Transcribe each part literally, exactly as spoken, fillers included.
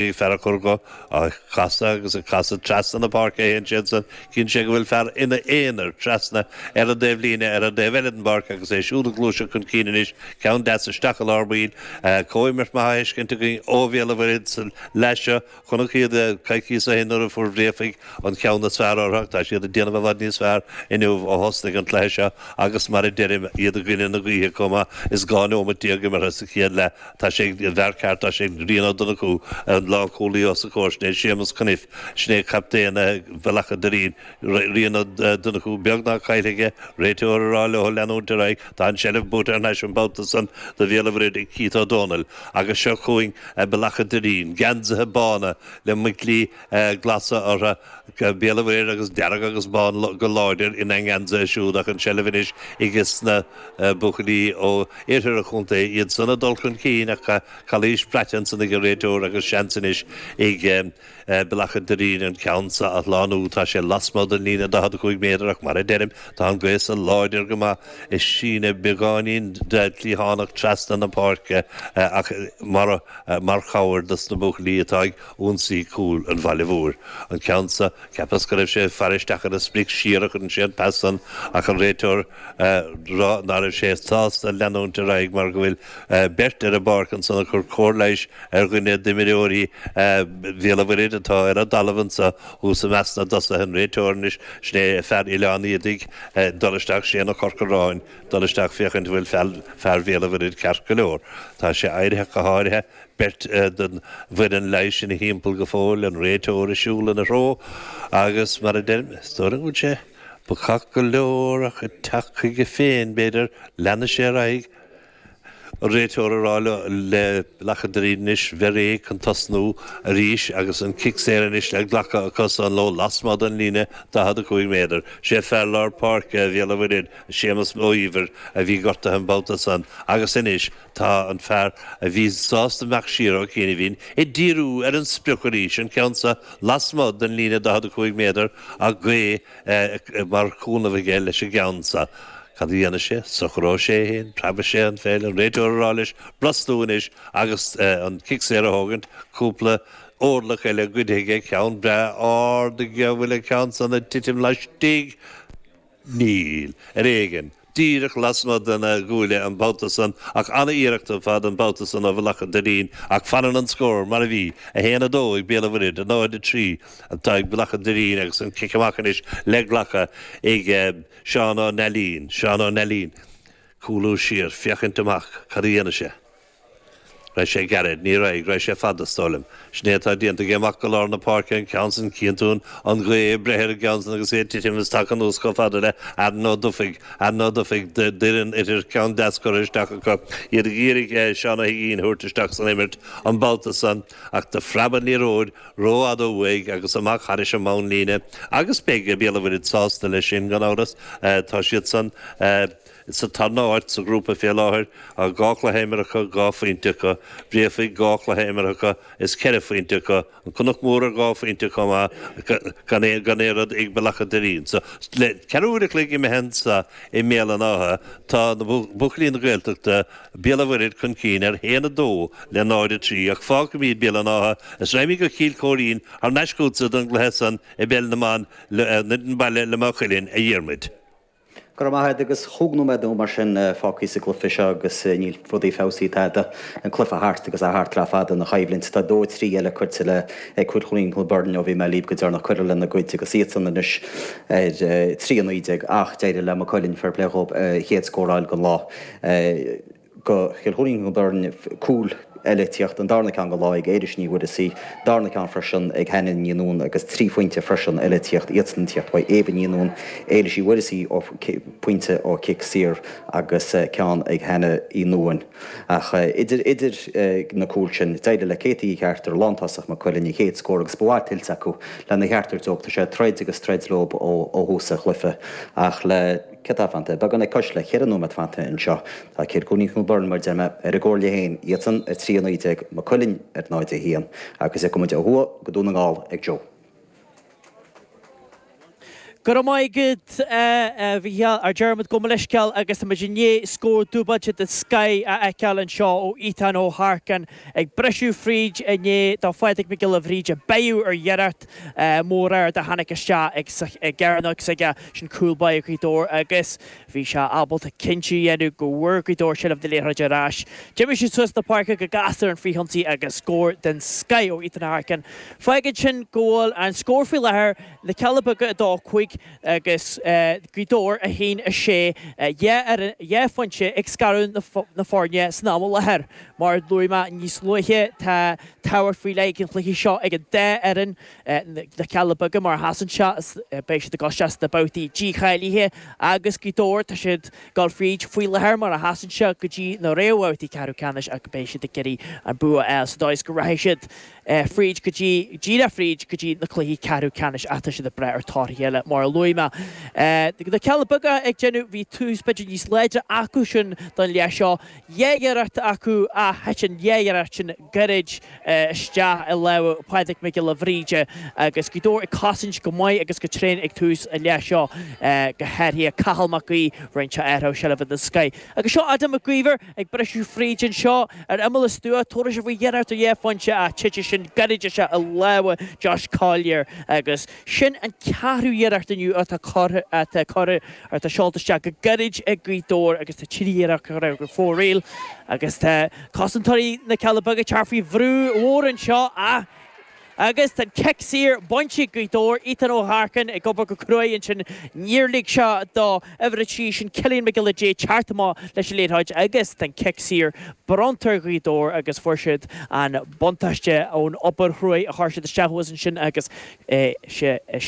Fear a chur go á chasadh agus a chasadh trasna na páirce a théann sé ansan. Cíonn sé go bhfuil fear ina aonar trasna ar an dtaobh líne ar an dtaobh eile den bpáirc agus é siúd ag gluaiseacht chun cinn anois. Ceann deas isteach i lár baill. Comhimirt maith á fheiscint againn ó Bhéal an Mhuirthead sa leath seo. Chonac iad coicíos ó shin nuair a fuair Bréafaigh an ceann is fearr orthu ach tá siad ag déanamh i bhfad níos fearr inniu ó thosnaigh an cluiche seo agus mar a deirim iad i gcoinne na gaoithe chomh maith is dhá neomat déag imeartha sa chéad leath. Tá sé ag an bhfear ceart, tá sé ag Rian Ó Donnchú, an lánchúlaí os a chomhair, sin é Séamus Cunniffe, sin é captaen Bhealach an Doirín, Rian Ó Donnchú beagnach caillte aige, réiteoir ag rá leo leanúint ar aghaidh, tá an tseilbh buaite thar n-ais an babhta san do Bhéal an Mhuirthead ag Keith Ó Dónaill agus seo chugainn Bealach an Doirín, geansaithe bána le muiclí glasa orthu, Béal an Mhuirthead agus dearg agus bán go láidir ina ngeansaithe siúd ach an tseilbh anois aige na buachaillí ó iarthar an chontae, iad san ag dul chun cinn ach calaois braite ansan ag an réiteoir agus seans anois ag Bealach an Doirín an ceann sa a shlánú. Tá sé lasmuigh den líne daichead a cúig méadar ach mar a deirim, tá an ghaoth san láidir go maith ag síneadh beagáinín de chliathánach trasna na páirce ach mar mar chabhair dos na buachaillí atá ag ionsaí cúl an bhaile mhóir. An ceann sa, cheapas go raibh sé ag faire isteach ar an sprioc siar a chuireann sé an pas san ach an réiteoir rá ná raibh sé sásta leanúint ar aghaidh mar go bhfuil beirt ar an bpáirc ansan ag cur cóir leighis ar dhuine d'imreoirí Bhéal an Mhuirthead atá ar an dtalamh anso thuas i measc na dtosaithe, an réiteoir anois, sin é fear Oileán Éadaigh, dul isteach, Shane Ó Corcoráin, dul isteach féachaint an bhfuil fear Bhéal an Mhuirthead ceart go leor. Tá sé éirithe go háirithe, beirt den bhfoireann leighis ina thimpeall go fóill, an réiteoir ag siúl ina threo agus mar a deirim, is dóigh liom go bhfuil sé bacach go leor ach ag teacht chuige féin, b'fhéidir, leanfaidh sé ar aghaidh. An réiteoir ag rá le Bealach an Doirín anois bheith réidh chun tosnú arís agus an cic saor anois le glacadh acu san leo lasmuigh den líne daichead a cúig méadar. Sé fear lár páirce Bhéal an Mhuirthead, Séamus Ó Íomhair, a bhí gortaithe an babhta san agus anois tá an fear a bhí sásta imeacht siar ó chianaibhín ag díriú ar an sprioc arís, an ceann seo lasmuigh den líne daichead a cúig méadar ach gaoth mar chúnamh aige leis an gceann seo. Cad a dhéanfaidh sé? Socróidh sé é féin, preabfaidh sé an pheil, an réiteoir ag rá leis brostú anois agus an cic saor a thógaint, cúpla orlach eile goidte aige, ceann breá ard aige, an bhfuil an ceann san ag titim laistigh? Níl. Ar éigean. Díreach lasmuigh den gcuaille an babhta san ach an-iarracht ar fad an babhta san ó Bhealach an Doirín ach fanann an scór mar a bhí, a haon a dó ag Béal an Mhuirthead, a náid a trí atá ag Bealach an Doirín agus an cic amach anois le glacadh ag Seán Ó Neilín, Seán Ó Neilín, cúlú siar, féachaint amach, cad a dhéanfaidh sé? Raibh sé gairid? Ní raibh, raibh sé fada, is dóigh liom. Sin é atá déanta aige amach go lár na páirce, an ceann san, cíonn tú an ghaoth ag breith ar an gceann san agus é ag titim is tagtha anuas chomh fada le Aaron Ó Dufaigh, Aaron Ó Dufaigh d'fhoireann Oirthir, ceann deas curtha isteach acu, iad ag iarraidh Seán Ó hUiginn a thabhairt isteach san imirt an babhta san ach do phreab an liathróid rófhada uaidh agus amach thairis an mbonnlíne agus beidh Béal an Mhuirthead sásta leis sin gan amhras. Tá siad san sa tarna háit sa ghrúpa fé láthair, dhá chluiche imeartha acu, dhá phointe acu, Bréafaigh dhá chluiche imeartha acu is ceithre phointe acu, An Cnoc Mór ar dhá phointe chomh maith, gan aon rud ag Bealach an Doirín. So, le ceathrú uair a chloig imithe anso i mBéal an Átha, tá na buachaillí na Gaeltachta, Béal an Mhuirthead chun cinn ar haon a dó le náid a trí ach fágfaimid Béal an Átha is raghaimid go Cill Choirín thar n-ais chugatsa don gcluiche san i bPeil na mBan i mBaile le Maigh Cuilinn, a Dhiarmuid. Go raibh maith agat agus chúig nóiméad nó mar sin fágtha sa gcluiche seo agus níl rudaí feabhsaithe tada. An cluiche thart agus é thart le fada ina choimhlint. Tá dó a trí eile curtha le ag Cill Choirín Cill Bhirn ó bhí mé libh go deireanach curtha lena gcuid agus iadsan anois ar trí a naoi déag ach d'éirigh le Maigh Cuilinn fair play dhóibh a chéad scór a fháil den lá. Do Chill Choirín Cill Bhirn cúl eile tíocht, an darna ceann den lá ag Éilis Ní Mhuireasaigh, darna ceann freisin ag Hannah Ní Nuadháin agus trí phointe freisin eile tíocht, iadsan tíocht uaidh Éabha Ní Nuadháin, Éilis Uí Mhuireasaigh ó pointe ó chic saor agus ceann ag Hannah Uí Nuadháin. Ach idir idir na cúil sin, d'éirigh le Katie Uí Cheartair, lántosach Maigh Cuilinn, a chéad scór agus ba mhaith tuillte acu lena cheartar dóibh. Tá sé ag troid agus troid leo ó thús an chluiche ach le. Céard tá fanta? Beagán cois le ceithre nóiméad fanta anseo. Tá Cill Choirín Cill Bhirn, mar a deir mé, ar an gcomhairle féin, iadsan ar trí a naoi déag, Maigh Cuilinn ar náid a haon, agus ag muid ó thuaidh go Dún na nGall ag Joe. Go raibh maith agat a Mhícheáil, a Dermot gabh mo leithscéal agus tá muid i ndiaidh scór dúbailte den scoth a fheiceáil anseo ó Ethan Ó hEarcáin ag briseadh fríd i ndiaidh do Phádraig Mac Giolla Bhríde beireadh ar iarracht mór ard a tháinig isteach ag gcearnóg s'aige sin cúl báire Ghaoth Dobhair agus bhí sé ábalta cinntiú a dhéanamh go bhfuair Gaoth Dobhair seilbh na liathróide ar ais. D'imigh siad suas na páirce go gasta ar an frithionsaí agus scór den scoth ó Ethan Ó hEarcáin. Fágann sin go bhfuil an scór faoi láthair Na Cealla Beaga a dó cúig agus Gaoth Dobhair a haon a sé, dhá phointe ag scaradh na foirne san am i láthair. Mar a luaigh mé níos luaithe, tá tábhacht faoi leith ag an chluiche seo ag an dá fhoireann, Na Cealla Beaga mar a sheasann sé, beidh siad ag dul isteach sna babhtaí dícháilithe agus Gaoth Dobhair, tá siad ag dul fríd faoi láthair mar a sheasann sé go dtí na réamhbhabhtaí ceathrú ceannais ach beidh siad ag iarraidh an bua a fháil sa dóigh is go rachaidh siad fríd go dtí, díreach fríd go dtí na cluichí ceathrú ceannais ach tá siad ag brath ar torthaí eile mar a luaigh mé. Na Cealla Beaga ag déanamh, bhí tús b'fhéidir níos láidre acu sin don leath seo. Dhá iarracht acu ach thit an dhá iarracht sin gairid isteach i lámha Phádraig Mac Giolla Bhríde agus Gaoth Dobhair ag cosaint go maith agus go tréan ag tús an leath seo, go háirithe Cathal Mac Aoidh, rinne sé athrú seilbhe den scoith. Agus seo Adam Mac Íomhair ag briseadh fríd anseo ar imeall an stua, tabharfaidh sé faoi iarracht ar dhá phointe ach titfidh sin gairid isteach i lámha Josh Collier agus sin an ceathrú iarracht inniu atá curtha, atá curtha, atá seolta isteach go gairid ag Gaoth Dobhair agus tá trí iarracht curtha go fóill agus tá cosantóirí na Cealla Beaga ag teacht faoi bhrú mhór anseo ach Agus tá an cic saor bainte ag Gaoth Dobhair, Ethan Ó hEarcáin ag obair go cruaidh ansin, níor lig sé do uimhir a trí sin Cillian Mac Giolla Dé teacht amach leis an liathróid agus tá an cic saor bronnta ar Ghaoth Dobhair agus fuair siad an buntáiste ón obair chruaidh a chuir siad isteach thuas ansin agus is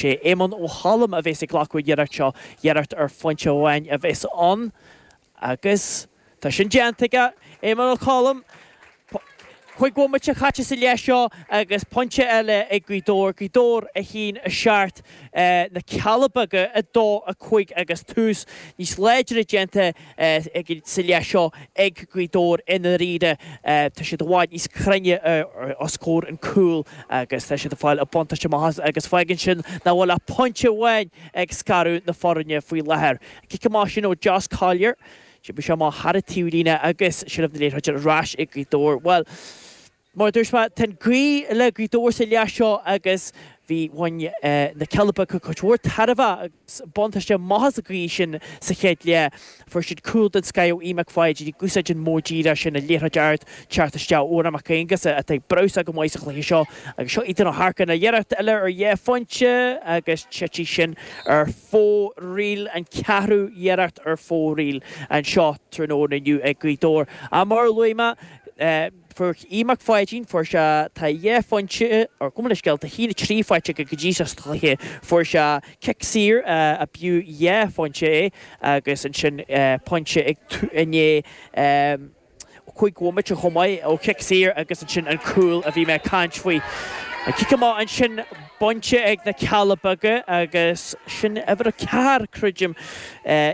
é Éamonn Ó Colm a bhéas ag glacadh an iarracht seo, iarracht ar phointe amháin a bhéas ann agus tá sin déanta aige, Éamonn Ó Colm. Cúig bhomaite caite sa leath seo agus pointe eile ag Gaoth Dobhair, Gaoth Dobhair a haon a seacht, Na Cealla Beaga a dó a cúig agus tús níos láidre déanta sa leath seo ag Gaoth Dobhair i ndáiríre. Tá siad i bhfad níos cruinne os comhair an cúl agus tá siad ag fáil an buntáiste amach as agus fágann sin nach bhfuil ach pointe amháin ag scaradh na foirne faoi láthair. Cic amach sin ó Josh Collier. D'oibrigh sé amach thar an taobhlíne agus seilbh na liathróide ar ais ag Gaoth Dobhair. Bhuel, mar a dúirt mé, tá an ghaoth le Gaoth Dobhair sa leath seo agus bhí bhain na Cealla Beaga cuid mhór tairbhe agus buntáiste amach as an ghaoth sin sa chéad leath. Fuair siad cúl den scoth ó Aodh Mac Pháidín ag úsáid an modh díreach sin, an liathróid ard teacht isteach ó Odhrán Mac Aonghusa atá ag brabhsáil go maith sa chluiche seo agus seo Ethan Ó hEarcáin iarracht eile ar dhá phointe agus titfidh sin ar fóraoil, an ceathrú iarracht ar fóraoil anseo tráthnóna inniu ag Gaoth Dobhair. Ach mar a luaigh mé, fuair Aodh Mac Pháidín, fuair sé, tá dhá phointe, or gabh mo leithscéal, tá a haon a trí faighte aige go dtí seo sa chluiche, fuair sé cic saor a b'fhiú dhá phointe é agus ansin pointe ag i ndiaidh cúig bhomaite chomh maith ó chic saor agus ansin an cúl a bhí mé ag caint faoi. An cic amach ansin bainte ag na Cealla Beaga agus sin uimhir a ceathair, creidim,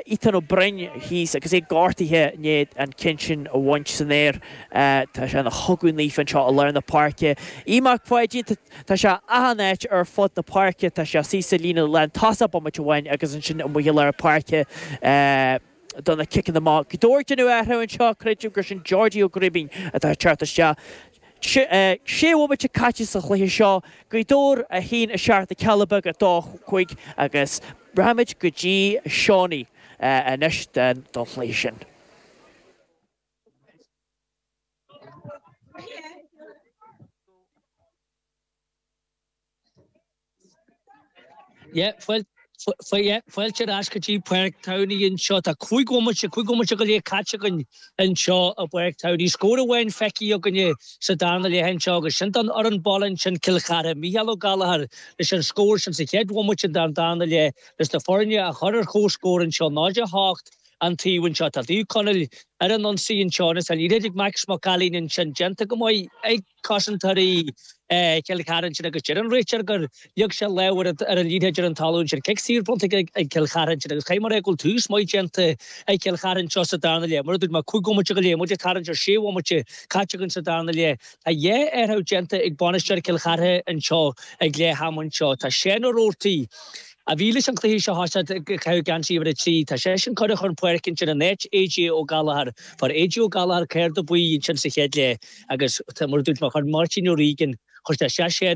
Ethan Ó Broin thíos agus é gortaithe i ndiaidh an ceann sin a bhaint san aer. Tá sé ina chogadh naofa anseo i lár na páirce. Aodh Mac Pháidín, tá sé achan áit ar fud na páirce, tá sé suas sa líne lántosach bomaite amháin agus ansin amuigh i lár páirce. do na ciceanna amach. Gaoth Dobhair ag déanamh athrú anseo, creidim gur sin Georgie Ó Gribín atá ag teacht isteach. Sé bhomaite caite sa chluiche seo, Gaoth Dobhair a haon a seacht, Na Cealla Beaga a dó cúig agus rachaimid go dtí Seánie anois don chluiche sin. Yeah, fáilte ar ais go dtí Páirc Towney anseo. Tá cúig bhomaite, cúig bhomaite go leith caite againn anseo i bPáirc Towney. Scór amháin feicthe againne sa darna leath anseo agus sin don fhoireann baile ansin, Cill Chartha. Mícheál Ó Gallchóir leis an scór sin sa chéad bhomaite den darna leath leis na foirne a chur ar comhscór anseo, náid a hocht an taobh anseo. Tá Naomh Conaill ar an ionsaí anseo agus tá an liathróid ag Max Mac Ailín ansin déanta go maith ag cosantóirí Chill Chartha ansin agus deir an réiteoir gur leag sé lámh ar an liathróid ar an talamh ansin. Cic saor bronnta ag Cill Chartha ansin agus caithfidh mé a rá go bhfuil tús maith déanta ag Cill Chartha anseo sa darna leath. Mar a dúirt mé, cúig bhomaite go leith, muid ag tarraingt ar sé bhomaite caite againn sa darna leath. Tá dhá athrú déanta ag bainisteoir Chill Chartha anseo ag leath ama anseo. Tá Seán Ó Roarty a bhí leis an chluiche seo thoiseacht ag caitheamh geansaí uimhir a trí. Tá seisean curtha chun páirce ansin in áit AJ Ó Gallchóir. Fuair AJ Ó Gallchóir cárta buí ansin sa chéad leath agus mar a dúirt mé, chuir Máirtín O'Regan, chuir sé isteach sé